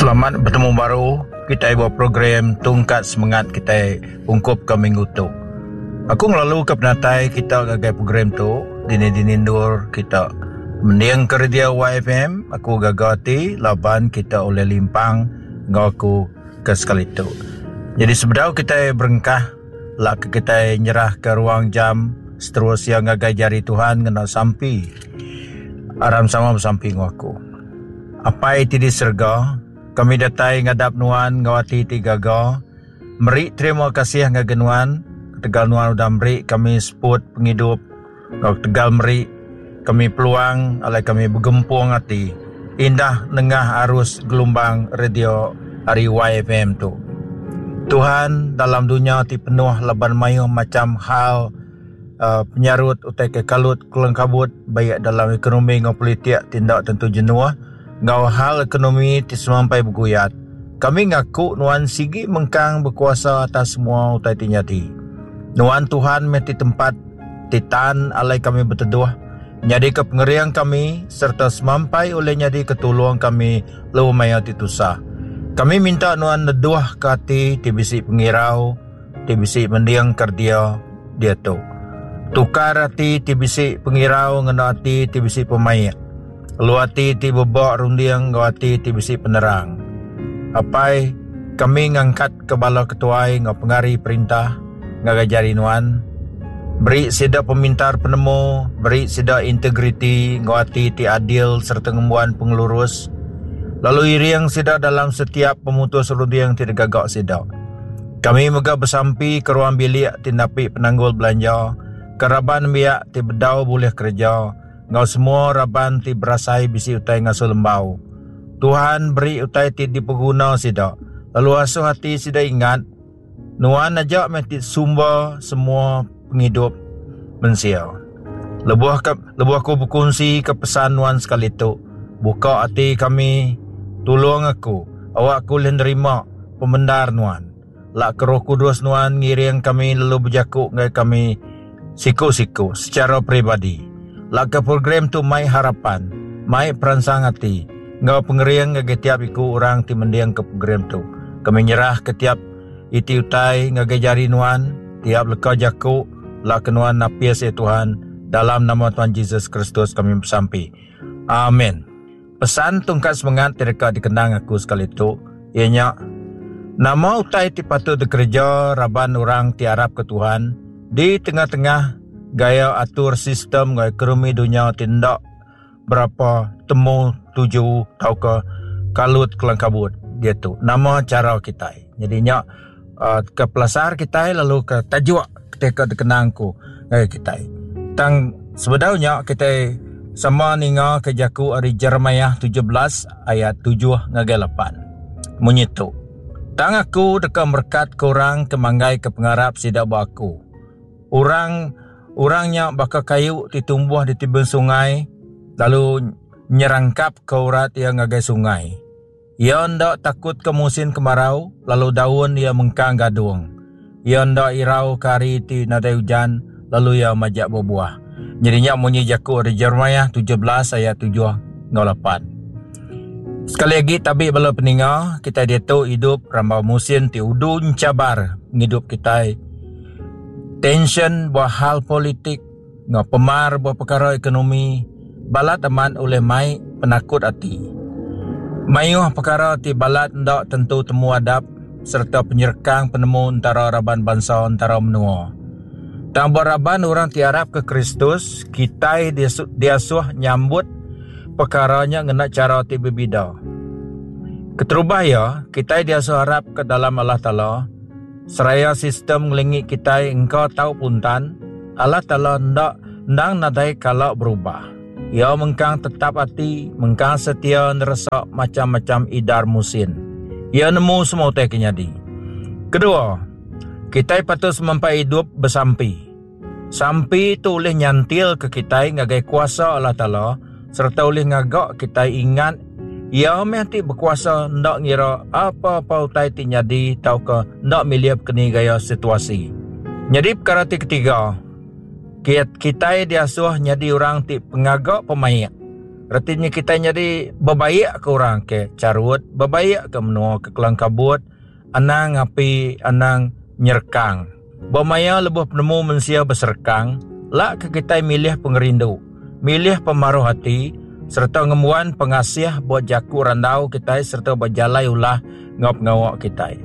Selamat betemu baru kitai ba program Tungkat Semengat kitai ungkup ke minggu tu. Aku ngelalu ke penatai kita ngagai program tu dini-dini endur kita mending ke radio YFM aku gaga ati laban kita ulih limpang enggau aku ke sekali tu. Jadi sebedau kitai berengkah lak ke kitai nyerah ke ruang jam seterus iya ngagai jari Tuhan ngena sampi. Aram sama besampi enggau aku. Apai ti di serega, kami datai ngadap Nuan enggau ati ti gaga, meri terima kasih ngagai Nuan ketegal Nuan udah meri kami seput pengidup enggau ketegal meri kami peluang alai kami begempung ati indah nengah arus gelumbang radio ari YFM tu. Tuhan, dalam dunya ti penuh laban mayuh macham hal, Penyarut utai ke kalut kelengkabut baik dalam ekonomi enggau politik ti enda tentu jenuh enggau hal ekonomi ti semampai beguyat. Kami ngaku nuan sigi mengkang bekuasa atas semua utai ti nyadi. Nuan Tuhan meh ti tempat ti tan alai kami beteduh, nyadika pengering kami sereta semampai ulih nyadika tulung kami lebuh maya ti tusah. Kami minta nuan neduhka ati ti bisi pengirau, ti bisi mending keredia diatu. Tukar ati ti bisi pengirau ngena ati ti bisi pemaik, lalu ati ti beba runding enggau ati ti bisi penerang. Apai, kami ngangkatka bala ketuai enggau pengari perintah ngagai jari Nuan. Beri sida pemintar penemu, beri sida integriti enggau ati ti adil sereta ngembuan pengelurus, lalu iring sida dalam setiap pemutus runding ti digaga sida. Kami mega besampi ke ruang bilik ti napi penanggul belanja, ke raban nembiak ti bedau bulih kereja enggau semua raban ti berasai bisi utai ngasuh lembau. Tuhan beri utai ti dipeguna sida lalu asuh ati sida ingat, Nuan aja meh ti sumber semua pengidup mensia. Lebuh ke lebuh aku bekunsi ke pesan nuan sekali tu, buka ati kami, tulung aku, awak aku ulih nerima pemendar nuan. Lak ke Roh Kudus nuan ngiring kami lalu bejaku ngagai kami siku-siku secara peribadi. Lak ke program tu mai harapan, mai peransang ati enggau pengering ngagai tiap iku orang ti mending ke program tu. Kami nyerah ke tiap iti utai ngagai jari nuan, tiap leka jaku lak ke nuan napis iya Tuhan, dalam nama Tuhan Jesus Kristus kami besampi. Amen. Pesan tungkat semengat ti deka dikenang aku sekali tu iya nya nama utai ti patut dikereja raban orang ti arapka Tuhan di tengah-tengah gaya atur sistem enggau ekonomi dunya ti enda berapa temu tuju tauka kalut kelangkabut diatu. Nama chara kitai. Nyadi nya uhh ke pelasar kitai lalu ke tajuk ti ka dikenang ku ngagai kitai. Tang sebedau nya kitai sama ninga ke jaku ari Jeremiah 17 ayat 7 ngagai 8. Munyi tu. Tang aku deka merekat ke orang ke manggai ke pengarap sida ba aku. Orang orang nya baka kayu ti tumbuh di tebing sungai lalu nyerangkap ke urat iya ngagai sungai. Iya enda takut ke musin kemarau lalu daun iya mengkang gadung. Iya enda irau ke hari ti nadai ujan lalu iya majak bebuah. Nyadi nya munyi jaku ari Jeremiah 17 ayat 7 enggau 8. Sekali agi tabi bala peninga, kitai diatu idup rambau musin ti udu enchabar ngidup kitai. Tension ba hal politik enggau pemar ba pekara ekonomi balat amat ulih mai penakut ati. Mayuh pekara ti balat enda tentu temu adap sereta penyerekang penemu entara raban bansa entara menua. Tang ba raban orang ti arapka Kristus, kitai diasuh nyambut pekara nya ngena chara ti bebida. Keterubah iya, kitai diasuh arapka dalam Allah Taala. Seraya sistem ngelingi kitai engka tau puntan, Allah Taala enda endang nadai kala berubah. Iya mengkang tetap ati, mengkang setia neresa macham-macham idar musin. Iya nemu semua utai ke nyadi. Kedua, kitai patut semampai idup besampi. Sampi tu ulih nyantilka kitai ngagai kuasa Allah Taala sereta ulih ngaga kitai ingat Iya meh ti bekuasa enda ngira apa-apa utai ti nyadi tauka enda milih bekeni gaya situasi. Nyadi pekara ti ketiga, kitai diasuh nyadi orang ti pengaga pemaik. Reti nya kitai nyadi bebaik ke orang ke charut, bebaik ke menua ke kelang kabut, anang api anang nyerekang. Ba maya lebuh penemu mensia beserekang, lak ke kitai milih pengerindu, milih pemaruh ati sereta ngembuan pengasih ba jaku randau kitai sereta ba jalai ulah enggau pengawa kitai.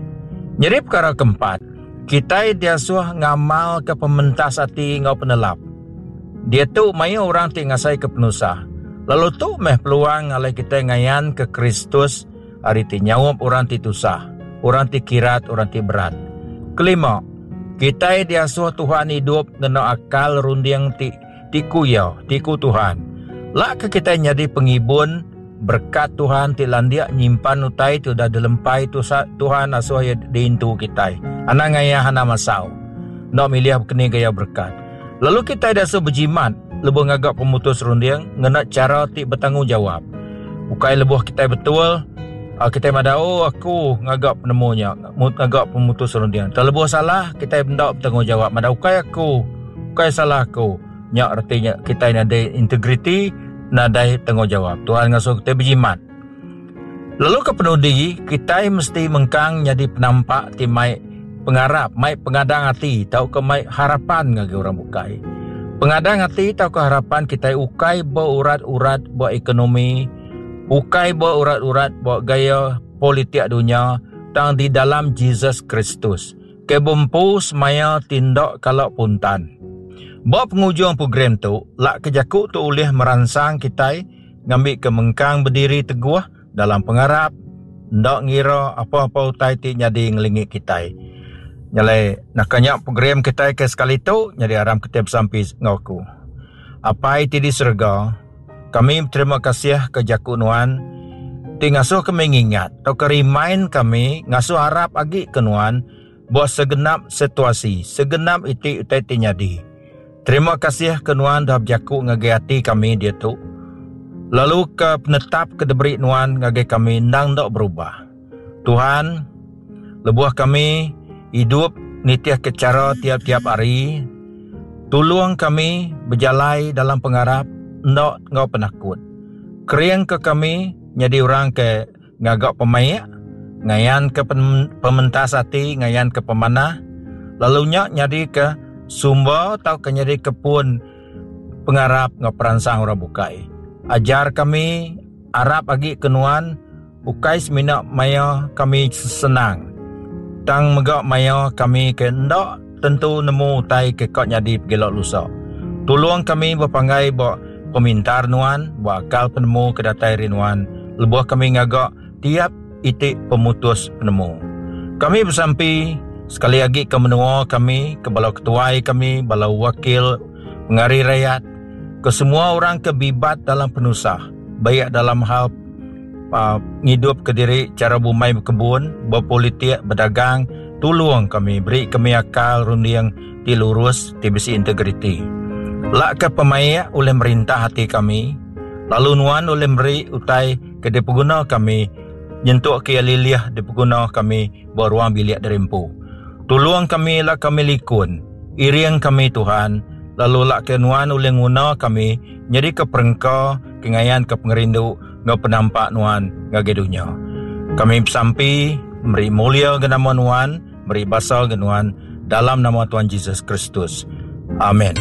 Nyadi pekara keempat, kitai diasuh ngamalka pementas ati enggau penelap. Diatu mayuh orang ti ngasaika penusah, lalu tu meh peluang alai kitai ngayanka Kristus ari ti nyaup orang ti tusah, orang ti kirat, orang ti berat. Kelima, kitai diasuh Tuhan idup ngena akal runding ti ti ku Iya, ti ku Tuhan. Lak ke kitai nyadi pengibun berekat Tuhan ti landik nyimpan utai ti udah dilempai Tuhan asuh Iya diintu kitai. Anang ngayah anang masau. Enda milih bekeni gaya berekat. Lalu kitai diasuh bejimat lebuh ngaga pemutus runding ngena chara ti betanggungjawap. Ukai lebuh kitai betul, kitai madah oh aku ngaga penemu nya, ngaga pemutus runding. Tang lebuh salah kitai enda betanggungjawap madah ukai aku, ukai salah aku. Nya reti nya kitai nadai integriti, nadai tanggungjawap. Tuhan ngasuh kitai bejimat. Lalu ke penudi, kitai mesti mengkang nyadi penampak ti mai pengarap, mai pengadang ati tauka mai harapan ngagai orang bukai. Pengadang ati tauka harapan kitai ukai beurat-urat ba ekonomi, ukai beurat-urat ba gaya politik dunya, tang di dalam Jesus Kristus, ke bempu semaya ti enda kala puntan. Ba pengujung program tu, lak ke jaku tu ulih meransang kitai ngambika mengkang bediri teguh dalam pengarap enda ngira apa-apa utai ti nyadi ngelingi kitai. Nya alai naka nya program kitai ke sekali tu nyadi aram kitai besampi enggau aku. Apai ti di serega, kami beterima kasih ke jaku nuan ti ngasuh kami ngingat tauka remind kami ngasuh arap agi ke nuan ba segenap situasi, segenap iti utai ti nyadi. Terima kasih ke nuan dah bejaku ngagai ati kami diatu, lalu ke penetap ke diberi nuan ngagai kami endang enda berubah. Tuhan, lebuh kami idup nitihka chara tiap-tiap hari, tulung kami bejalai dalam pengarap enda enggau penakut. Keringka kami nyadi orang ke ngaga pemaik, ngayanka pementas ati, ngayanka pemanah, lalu nya nyadika sumber tauka nyadika pun pengarap enggau peransang orang bukai. Ajar kami arap agi ke nuan ukai semina maya kami senang, tang mega maya kami ke enda tentu nemu utai ke ka nyadi pegila lusa. Tulung kami bepanggai ba pemintar nuan, ba akal penemu ke datai ari nuan lebuh kami ngaga tiap iti pemutus penemu. Kami besampi sekali agi ke menua kami, ke bala ketuai kami, bala wakil pengari rayat, ke semua orang ke bibat dalam penusah, baik dalam hal uh, ngidup ke diri chara bumai bekebun, bepolitik, bedagang, tulung kami, beri kami akal runding ti lurus, ti bisi integriti. Lak ke pemaik ulih merintah ati kami, lalu nuan ulih meri utai ke dipeguna kami nyentuk ke iya lilih dipeguna kami ba ruang bilik diri empu. Tulung kami lak kami likun, iring kami Tuhan, lalu lak ke nuan ulih nguna kami nyadika perengka ke ngayanka pengerindu enggau penampak nuan ngagai dunya. Kami besampi meri mulia ga nama nuan, meri basa ga nuan dalam nama Tuhan Jesus Kristus. Amen.